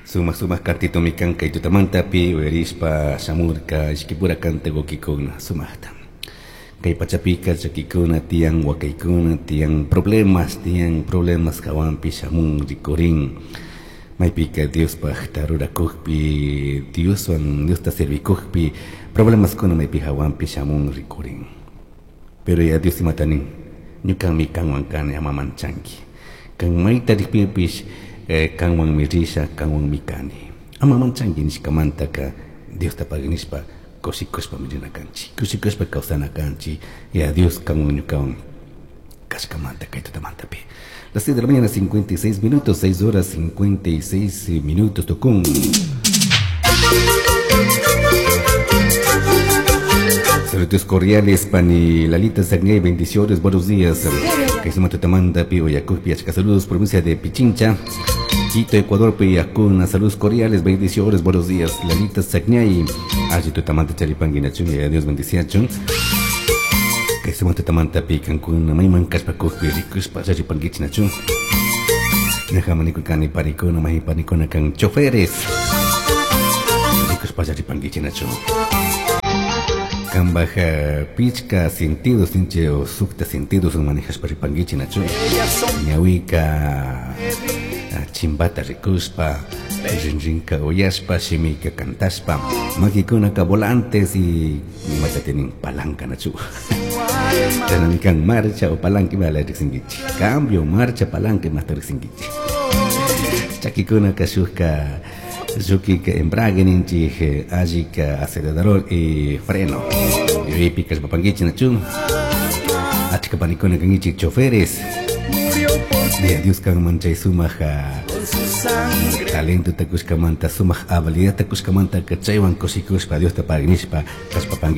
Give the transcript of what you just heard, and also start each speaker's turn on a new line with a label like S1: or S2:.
S1: Sumak sumak kantitomi kan kay tutamantapi uyarishpa shamurka ishkipura kanta wawkikuna sumakta. Kay pachapika llakikuna tiyan wakaykuna tiyan problemas tiyan problemas hawanpi shamun rikurin maypika Diospajta rurakukpi Dioswan Diosta servikukpi problemaskuna maypi hawanpi shamun rikurin. Pero ya Dios imata nin ñukami kanwan kani ama manchanki. Kan mayta rikpipish kanwanmi risha kanwanmi kani. Ama manchanki nishkamantaka Diosta pagui nishpa kushikushpami rina kanchik kushikushpa kawsana kanchik ya Dios kanwan ñukawan kashkamanta kay tutamantapi. Las 6 de la mañana 56 minutos, 6 horas 56 minutos tukun. Saludos cordiales, Pani Lalita Zagnay, bendiciones, buenos días. Que se tutamanta, pi Oyacupi, achka saludos, provincia de Pichincha, Quito, Ecuador, Piyacuna, saludos cordiales, bendiciones, buenos días. Lalita Zagnay, allí tutamanta charipangi nachun, y Dios bendiciachun. Que se tutamanta pi Cancún, mayman kashpa kukpi, rikushpa charipangichi nachun. Nahamani panikuna, mahi panikuna kan choferes. Rikushpa charipangichi nachun. Kambaj pichka sentidos ninche o sukta sentidos manejashpa ripangichi nachu. Ñawika chimbata rikushpa, rinrinka uyashpa, shimika cantashpa, makikunaka volantes y imata tienen palanca nachu. Chananikan marcha o palanca ima la riksinkichi. Cambio, marcha, palanca imata riksinkichi. Chakikunaka shukka Yukika embrague ninchik allika acelerador y freno. Yuyaypi kashpapankichik nachu. Achka panikuna kankichik choferes. Ya Dios kanman chay sumak talento takushkamanta sumak habilidad takushkamanta chaywan kushikushpa Diosta pagui nishpa kashpapankichik.